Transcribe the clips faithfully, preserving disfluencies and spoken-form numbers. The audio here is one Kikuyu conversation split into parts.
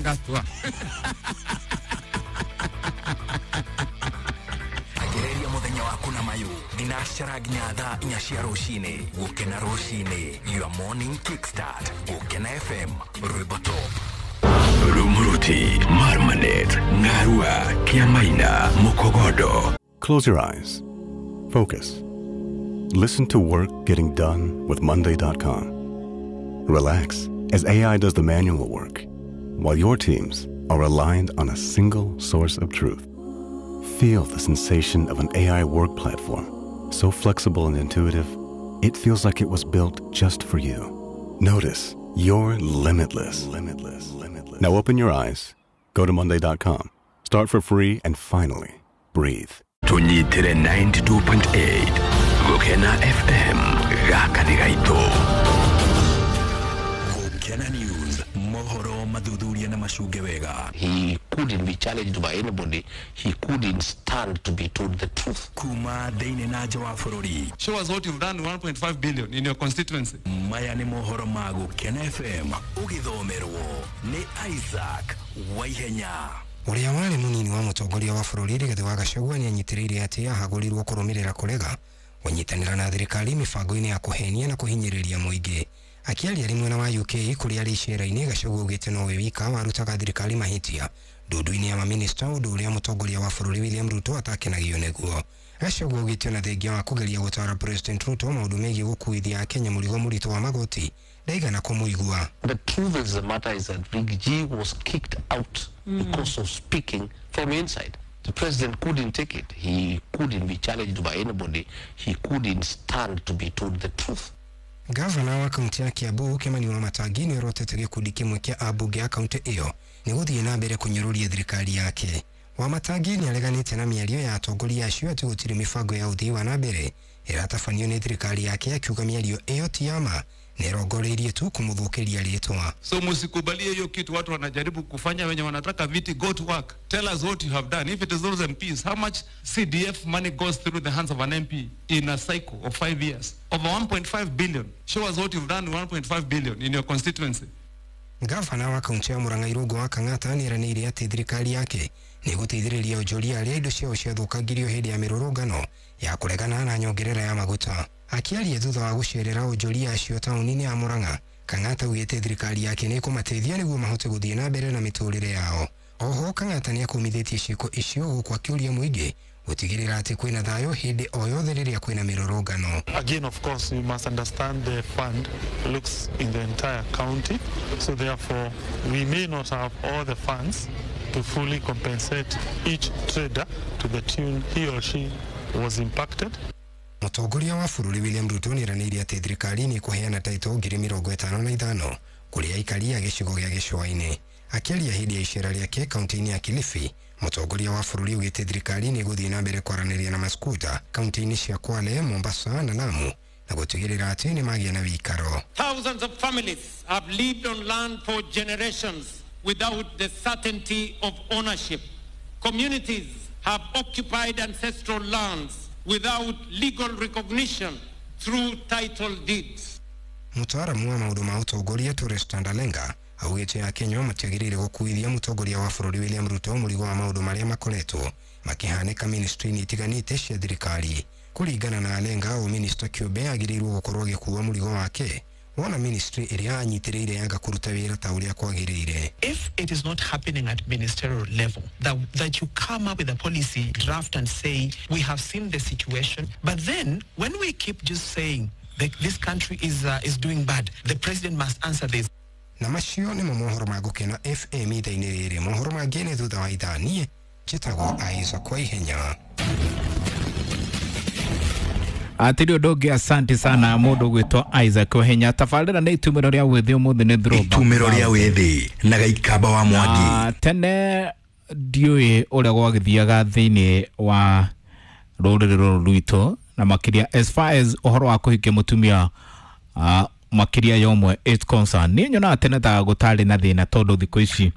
Gatua. Agereria muthenya waku na mayu thinacara nginya thaa inya cia rucini. Gukena rucini, your morning kickstart. Gukena F M, rwimbo top. Rumuruti, Marmanet, Ngarua, Kiamaina, Mukogodo. Close your eyes. Focus. Listen to work getting done with Monday dot com. Relax as A I does the manual work, while your teams are aligned on a single source of truth. Feel the sensation of an A I work platform, so flexible and intuitive, it feels like it was built just for you. Notice you're limitless. Limitless. Limitless. Now open your eyes, go to Monday dot com, start for free, and finally, breathe. Tunyitere ninety-two point eight, Gukena F M, gaka nĩ gaitũ. Gukena News, mohoro mathuthuria na macunge wega. He couldn't be challenged by anybody. He couldn't stand to be told the truth. Kuma thĩinĩ na nja wa bũrũri. Show us what you've done one point five billion in your constituency. Maya nĩ mohoro ma Gukena F M, ũgĩthomerwo nĩ Isaac Waihenya. Ũrĩa warĩ mũnini wa mũtongoria wa bũrũri Rigathĩ wa Gachagua nĩanyitĩrĩire atĩ ahagũrirwo kũrũmĩrĩra kũrega kũnyitanĩra na thirikari mĩbango-inĩ ya kũhenia na kũhinyĩrĩria mũingĩ. Akĩaria arĩ mwena wa U K kũrĩa arĩ icera-inĩ, Gachagua augĩte nowe wika warutaga thirikari mahĩtia ndundu-inĩ ya maminista, ũndũ ũrĩa mũtongoria wa bũrũri William Ruto atakenagio nĩguo. Gachagua augĩte ona thengia wa kũgeria gũtara President Ruto maũndũ megiĩ gũkuithia Akenya mũrigo mũritũ wa magoti, ndaigana kũmũigua. The truth of the matter is that Riggy G was kicked out mm. because of speaking from inside. The president couldn't take it. He couldn't be challenged by anybody. He couldn't stand to be told the truth. Gavana wa kaunti ya Kiambu Kimani Wamatangi nĩorotete gĩkundi kĩmwe kĩa ambunge a kaunti ĩyo nĩ gũthiĩ na mbere kũnyũrũria thirikari yake. Wamatangi nĩareganĩte na mĩario ya atongoria acio atĩ gũtirĩ mĩbango ya ũthii wa na mbere ĩratabanio nĩ thirikari yake, akiuga mĩario ĩyo ti ya ma nĩrongoreirie tu kũmũthũkĩria rĩtwa. So musikubalie hiyo kitu watu wanajaribu kufanya wenye wanataka viti. Go to work. Tell us what you have done. If it is those M Ps, how much C D F money goes through the hands of an M P in a cycle of five years? Over one point five billion. Show us what you've done one point five billion in your constituency. Gavana wa kaunti ya Murang'a Irũngũ wa Kang'ata nĩeranĩire atĩ thirikari yake nĩgũteithĩrĩria onjoria arĩa indo ciao ciathũkangirio hĩndĩ ya mĩrũrũngano ya kũregana na nyongerera ya maguta. Akĩaria thutha wa gũcerera onjoria acio taũni-inĩ ya Murang'a, Kang'ata augĩte thirikari yake nĩĩkũmateithia nĩguo mahote gũthiĩ na mbere na mĩtũrĩre yao. Oho Kang'ata nĩakũmithĩtie ciĩko icio gũkũ akĩũria mũingĩ gũtigĩrĩra atĩ kwĩna thayũ hĩndĩ o yothe rĩrĩa kwĩna mĩrũrũngano. Again, of course, you must understand the fund looks in the entire county, so therefore we may not have all the funds to fully compensate each trader to the tune he or she was impacted. Mũtongoria wa bũrũri William Ruto nĩeranĩire atĩ thirikari nĩĩkũheana taitũ ngiri mĩrongo ĩtano na ithano kũrĩ aikari a gĩcigo gĩa gĩcũa-inĩ. Akĩaria hĩndĩ ya icera rĩake kaunti-inĩ ya Kilifi, mũtongoria wa bũrũri augĩte thirikari nĩĩgũthiĩ na mbere kwaranĩria na maskuta kaunti-inĩ cia Kwale, Mombasa na Lamu na gũtigĩrĩra atĩ nĩmagĩa na wĩikaro. Thousands of families have lived on land for generations without the certainty of ownership. Communities have occupied ancestral lands without legal recognition through title deeds. Mũtaaramu wa maũndũ ma ũtongoria Torres Tandalenga augĩte Akenya matiagĩrĩire gũkuithia mũtongoria wa bũrũri William Ruto mũrigo wa maũndũ marĩa makoretwo makĩhanĩka ministry-inĩ itiganĩte cia thirikari. Kũringana na Alenga, o minista kĩũmbe agĩrĩirwo gũkorwo agĩkua mũrigo wake wona ministry ĩrĩa anyitĩrĩire yanga kũruta wĩra ta ũrĩa kwagĩrĩire. If it is not happening at ministerial level, that, that you come up with a policy draft and say, we have seen the situation, but then when we keep just saying that this country is, uh, is doing bad, the president must answer this. Na macio nĩmo mohoro ma Gũkena F M ithaa-inĩ rĩrĩ. Mohoro mangĩ nĩ thutha wa ithaa. Niĩ njĩtagwo Isaac Waihenya. Atiri ũndũ ũngĩ, asante sana mũndũ ũgwĩtwo Isaac Waihenya. Tabarĩra nĩ itumĩro rĩa wĩthĩ ũmũthĩ nĩ throwback. Itumĩro rĩa wĩthĩ na Gaikamba wa Mwangi. Na tene ndiũĩ ũrĩa gwagĩthiaga thĩinĩ wa rũrĩrĩ rũrũ rwitũ, na makĩria as far as ũhoro wa kũhikia mũtumia uh, makĩria ya ũmwe is concerned. Niĩ nyonaga tene ta gũtarĩ na thĩna tondũ thikũ ici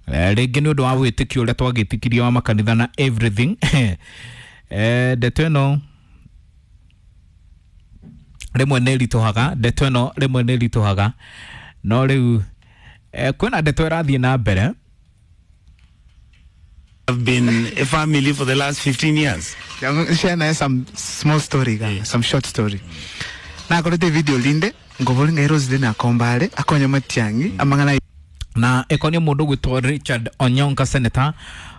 rĩngĩ nĩ ũndũ wa wĩtĩkio ũrĩa twagĩtĩkirie wa makanitha na everything. Eh, ndeto ĩno rĩmwe nĩ ĩritũhaga, ndeto ĩno rĩmwe nĩ ĩritũhaga, no rĩu eh, kwĩna ndeto ĩrathiĩ na mbere Have been a family for the last fifteen years. Share na some small story, yeah. Some short story. Na akorete video linde ngobolinga Rose na kombale akonya matiangi amangana na ekonia mundu gwitwo Richard Onyonka senator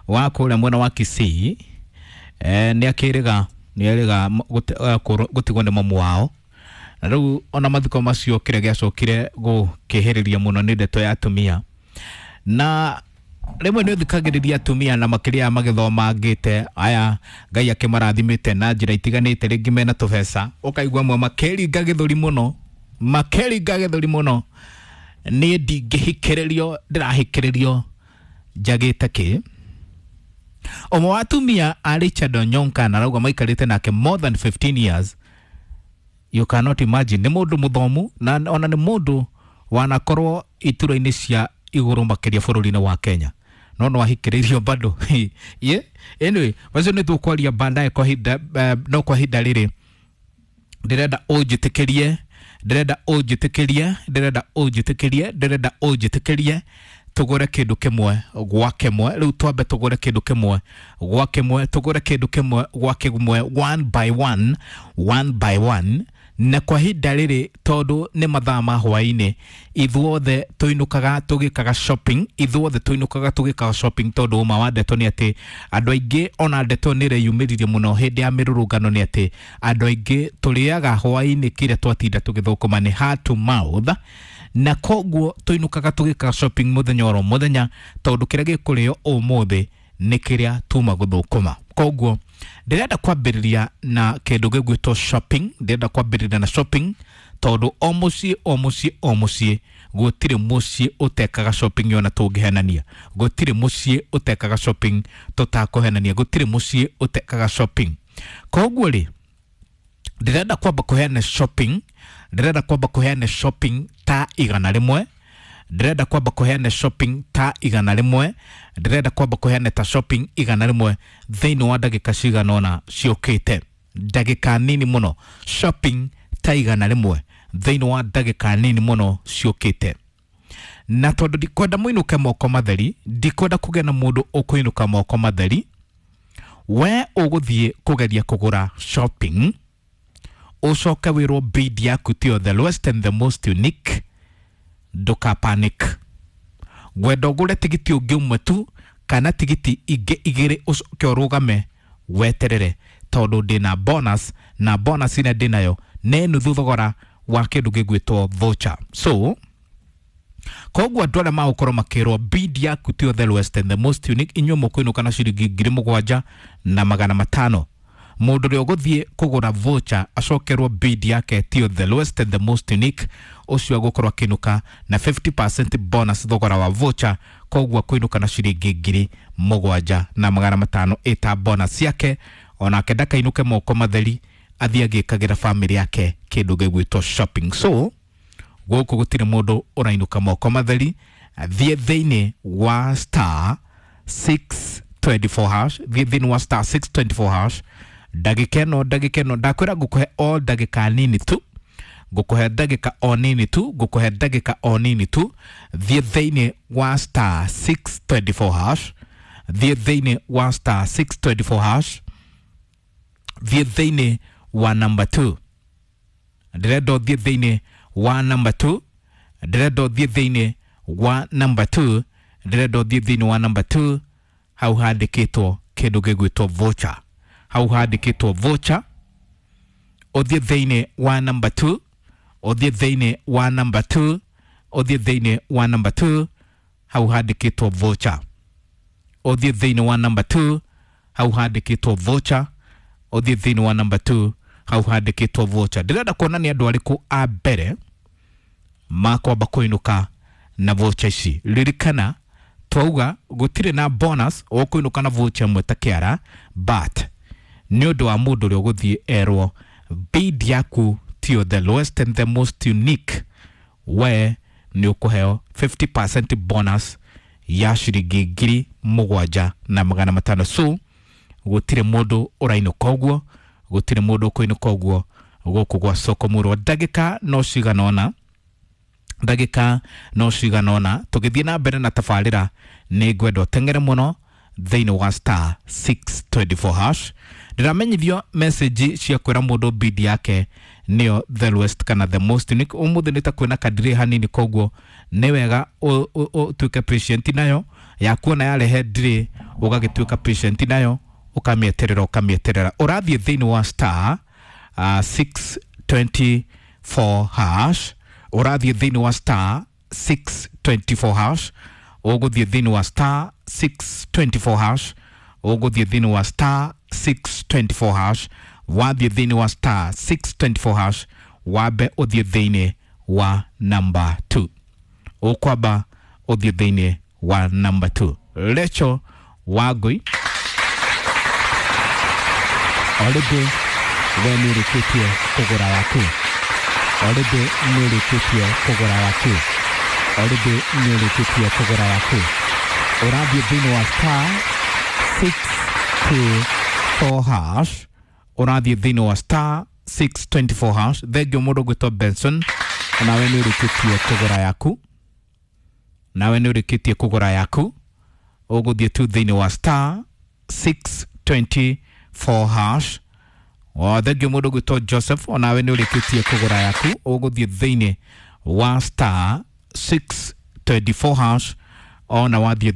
wa kuria mwena wa Kisii eh ni akiriga ni ariga gutigwo ni mamu wao na riu ona mathiko macio kiria giacokire gukihiriria muno ni ndeto ya atumia na rimwe ni uthikagiriria atumia na makiria magithoma ngite aya Ngai akimarathimite na njira itiganite ringi mena tubeca ukaigua mwe makeringa githuri muno makeringa githuri muno ni ndingihikiririo ndirahikiririo njagite ki Omo atumia a Richard Onyonka na rauga maikarite nake more than fifteen years. You cannot imagine ni mundu muthomu na ona ni mundu wanakorwo itura-inĩ cia iguru makiria bũrũri-inĩ wa Kenya no no ahikiririo bado ye anyway wacio nĩ tũkwaria baadaye kwa hinda no kwa hinda rĩrĩ ndĩrenda ũnjĩtĩkĩrie ndĩrenda ũnjĩtĩkĩrie ndĩrenda ũnjĩtĩkĩrie ndĩrenda ũnjĩtĩkĩrie tugure kindu kimwe gwa kimwe riu twambe tugure kindu kimwe gwa kimwe tugure kindu kimwe gwa kimwe one by one one by one na kwa hinda riri tondu ni mathaa ma hwaini ithuothe tuinukaga tugikaga shopping ithuothe tuinukaga tugikaga shopping tondu uma wa ndeto ni ati andu aingi ona ndeto ni reyumiririe muno hindi ya mirurungano ni ati andu aingi turiaga hwaini kiria twatinda tugithukuma ni heart to mouth na koguo tuinukaga tugikaga shopping muthenya oro muthenya tondu kiria gikurio umuthi ni kiria tuma guthukuma koguo ndirenda kwambiriria na kindu gigwitwo shopping ndirenda kwambiriria na shopping tondu o mucii o mucii o mucii gutiri mucii utekaga shopping yona tungihenania gutiri mucii utekaga shopping tutakuhenania gutiri mucii utekaga shopping koguo ri ndirenda kwamba kuheana shopping ndirenda kwamba kuheana shopping ta igana rimwe ndirenda kwamba kuheana shopping ta igana rimwe ndirenda kwamba kuheana ta shopping igana rimwe thiini wa ndagika cigana ona ciukite ndagika nini muno shopping ta igana rimwe thiini wa ndagika nini muno ciukite na tondu ndikwenda muinuke moko matheri ndikwenda kugĩa na mundu ukuinuka moko matheri we uguthie kugeria kugura shopping ucoke wirwo bid yaku tiyo the lowest and the most unique nduka panic ngwenda ũgũre tigiti ũngĩ ũmwe tu kana tigiti ingĩ igĩrĩ ũcoke ũrũgame weterere tondũ ndĩna bonus na bonus ĩrĩa ndĩnayo nĩ nuthu thogora wa kĩndũ gĩgwĩtwo voucher so koguo andũ arĩa magũkorwo makĩrwo bid yaku tiyo the lowest and the most unique inyuĩ mũkũinũka na ciringi ngiri mũgwanja na magana matano mundu ũrĩa ũgũthiĩ kũgũra voucher acokerwo bid yake tiyo the lowest and the most unique ũcio agũkorwo akĩinũka na fifty percent bonus thogora wa voucher koguo akũinũka na ciringi ngiri mũgwanja na magana matano ĩta bonus yake onake ndakainũke moko matheri athiĩ agĩkagĩra family yake kĩndũ gĩgwĩtwo shopping so gũkũ gũtirĩ mũndũ ũrainũka moko matheri thiĩ thĩinĩ wa star six twenty-four hash thiĩ thĩinĩ wa star six twenty-four hash ndagika ĩno ndagika ĩno ndakwĩra ngũkũhe o ndagika nini tu ngũkũhe ndagika o nini tu ngũkũhe ndagika o nini tu thiĩ thĩinĩ wa star six twenty-four hash thiĩ thĩinĩ wa star six twenty-four hash thiĩ thĩinĩ wa number two ndĩrenda ũthiĩ thĩinĩ wa number two ndĩrenda ũthiĩ thĩinĩ wa number two ndĩrenda ũthiĩ thĩinĩ wa number two hau handĩkĩtwo kĩndũ gĩgwĩtwo voucher hau handĩkĩtwo voucher ũthiĩ thĩinĩ wa number two ũthiĩ thĩinĩ wa number two ũthiĩ thĩinĩ wa number two hau handĩkĩtwo voucher ũthiĩ thĩinĩ wa number two hau handĩkĩtwo voucher ũthiĩ thĩinĩ wa number two hau handĩkĩtwo voucher ndĩrenda kuona nĩ andũ arĩkũ a mbere makwamba kũinũka na voucher ici ririkana twauga gũtirĩ na bonus ũkũinũka na voucher ĩmwe ta kĩara but nĩ ũndũ wa mũndũ ũrĩa ũgũthiĩ erwo bid yaku tiyo the lowest and the most unique we nĩ ũkũheo fifty percent bonus ya ciringi ngiri mũgwanja na magana matano so gũtirĩ mũndũ ũrainũka ũguo gũtirĩ mũndũ ũkũinũka ũguo gũkũ gwa soko mũrwa ndagĩka no cigana ũna ndagĩka no cigana ũna tũgĩthiĩ na mbere na tabarĩra nĩ ngwenda ũteng'ere mũno Thĩinĩ wa star six twenty four hash ndĩramenyithio message cia kwĩra mũndũ bid yake nĩyo the lowest kana the most unique. Ũmũthĩ nĩ ta kwĩna kadiri hanini, koguo nĩ wega ũtuĩke patient nayo yakuona yarehe ndiri, ũgagĩtuĩka patient nayo, ũkamĩeterera ũkamĩeterera. Ũrathiĩ thĩinĩ wa star uh, six twenty four hash, ũrathiĩ thĩinĩ wa star six twenty four hash, ũgũthiĩ thĩinĩ wa star six twenty four hash, ũgũthiĩ thĩinĩ wa star six twenty four hash, wathiĩ thĩinĩ wa star six twenty four hash, wambe ũthiĩ thĩinĩ wa number two, ũkwamba ũthiĩ thĩinĩ wa number two. Rachel Wangui, already we nĩ ũrĩkĩtie kũgũra yaku, already nĩ ũrĩkĩtie kũgũra yaku, already nĩ ũrĩkĩtie kũgũra yaku. Ũrathiĩ thĩinĩ wa star six two four hash, ũrathiĩ thĩinĩ wa star six twenty four hash. Thengio mũndũ ũgwĩtwo Benson, nawe nĩ ũrĩkĩtie kũgũra yaku, nawe nĩ ũrĩkĩtie kũgũra yaku. Ũgũthiĩ tu thĩinĩ wa star six twenty four hash. O thengio mũndũ ũgwĩtwo Joseph, onawe nĩ ũrĩkĩtie kũgũra yaku. Ũgũthiĩ thĩinĩ wa star six twenty four hash, ona wathiĩ